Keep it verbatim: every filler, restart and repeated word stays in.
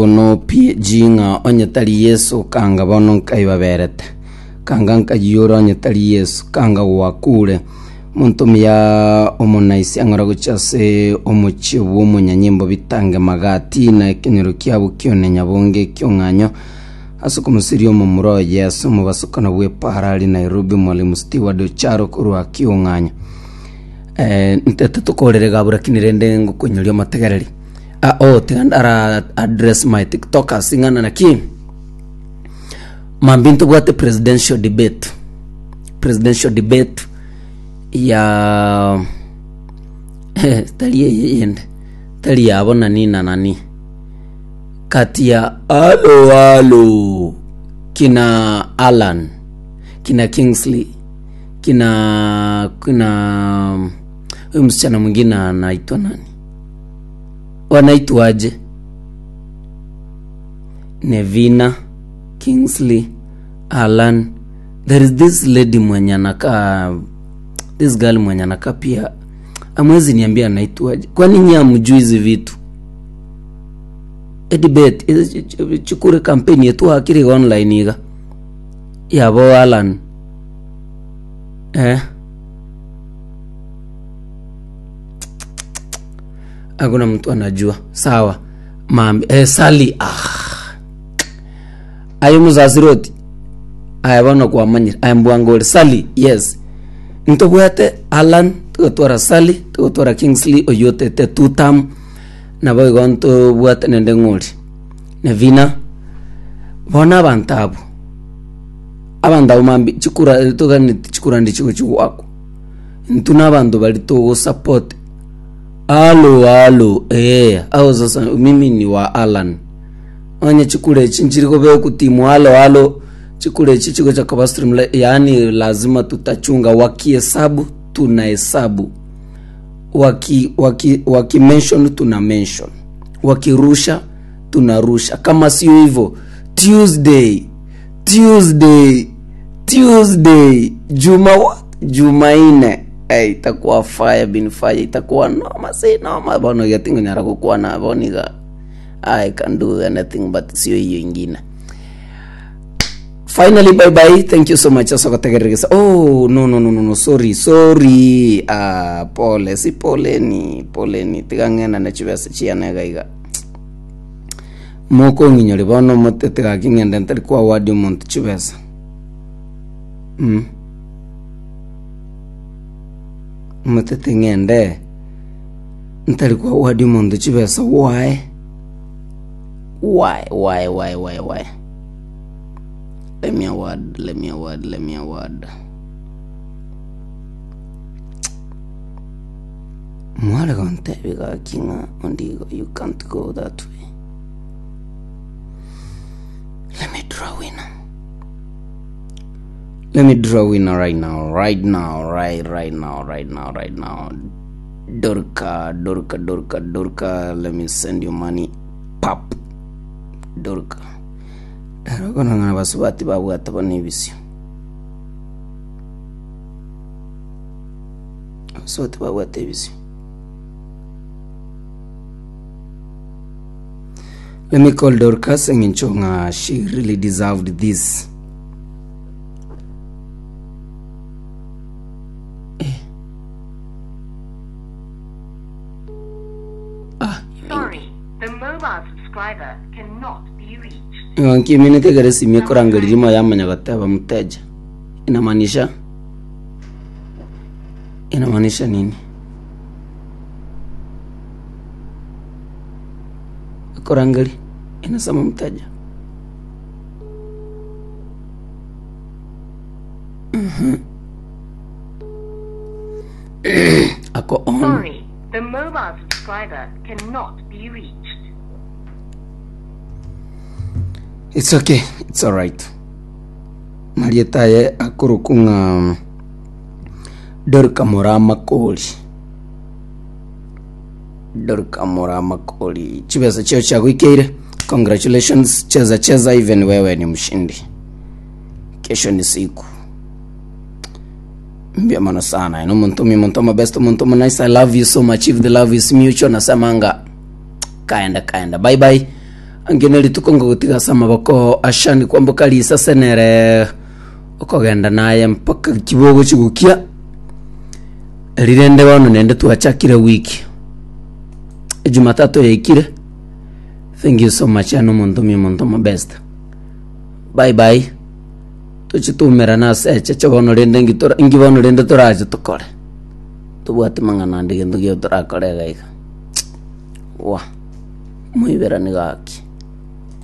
Bono P G ng'a onye tari Yeso kanga bono nkaibaberete, kanga nkayiyora onye tari Yeso, kanga gwakure. Omonto omuya omonaisi ang'ora gochia ase omochie bw'omonyanyimbo bitange magati na ekenyoro kiabo kione nyabonge ekiong'anyo ase okomosiria omomura oye ase omobasokano bw'epara ari Nairobi. Mwalimu Steward Ocharo korwa kiong'anyo. eh, ntete tokorere gabura kini rende ngokonyoria omotegereri. Ah, oh, tiga ndara address my TikTokers ing'ana naki mambia ntobwate presidential debate presidential debate ya tari eye yende tari yabo nani na nani kati ya alo alo kina Alan, kina Kingsley, kina kina huyu msichana mwingine anaitwa nani, wanaitwaje? Nevina, Kingsley, Alan. There is this lady mwenye anakaa, this girl mwenye anakaa pia, amwezi niambia anaitwaje? Kwani nyinyi hamjui hizi vitu? Edibet chikure campaign yetu akiri online iga yabo Alan, eh hakuna mtu anajua. Sawa mambi, eh, Sali, ah ayo muzasiroti aya bono kwamanyire aya mbwangori Sali. Yes, ntobwate Alan, tugotwara Sali, tugotwara Kingsley oyotete two term, nabo igo ntobwate nende ng'ori Nevina. Bono abanto abwo abanto abo mambi chikura toganeti chikura ndi chigo chigwakwa intwe na abanto bari togosupport alo alo, eh ao. Sasa mimi ni wa Alan. Onye chikura echi nchiri kobeku timu alo alo, chikura echi chigocha koba stream, yaani lazima tutachunga. Wakihesabu tunahesabu, waki waki waki mention tuna mention, wakirusha tunarusha. Kama sio hivyo, Tuesday, Tuesday, Tuesday, Juma what? Jumaine, hey, itakuwa fire bin fire, itakuwa noma si noma bono getingonyara gukwana boniga. I can do anything but sio hiyo ingine. Finally, bye bye, thank you so much asogotegereresa. Oh, no, no, no, no, no, sorry, sorry. Ah, pole si poleni, poleni, tiga ng'enda na chibesa chianega iga mokong'inyori bono motete gaki ng'ende ntari kwa wadi omonto chibesa, mm. Motete ng'ende ntari kwa wadi omonto chibesa. Why, why, why, why, why, why? Let me award, let me award, let me award. Mwale gontebi gaki ng'a ondigo you can't go that way. Let me draw winner, let me draw winner right now, right now, right right now, right now, right now. Dorka, Dorka, Dorka, Dorka, let me send you money. Pap. Dorka darogona ng'a basubati babwata bono ebisio, abasubati babwata ebisio. Let me call Dorcas eng'encho ng'a she really deserved this. Eh. Ah. Sorry, the mobile subscriber cannot be reached. Nkiminete ekero esimu ekorangeria rimo yamanya goteba mteja, inamaanisha inamaanisha nini? Ekorangeria inasema mteja. Mhm. Ako on. Sorry, the mobile subscriber cannot be reached. It's okay, it's alright. Marieta aye akoroku ng'a Dorka Mora Makori, Dorka Mora Makori, chibesa chio chaguikeire. Congratulations, cheza cheza, even wewe ni mshindi. Kesho ni siku mbia mono sana. Ino muntu mi muntu my best, muntu mo nice. I love you so much. If the love is mutual, nasemanga kaenda kaenda, bye bye. Angene rituko ngogotiga ase amaboko ashani kwamboka risase nere okogenda naye mpaka kibogo chigukia rirende bono nende twachakire wiki Jumatatu yaikire. Thank you so much ano omonto omuya, omonto omo best. Bye bye, tochitumerana ase echeche bono rende ngi tora- ngi bono rende torache tokore tobwate mang'ana ande gento gio torakore iga iga wa moiberani gaki.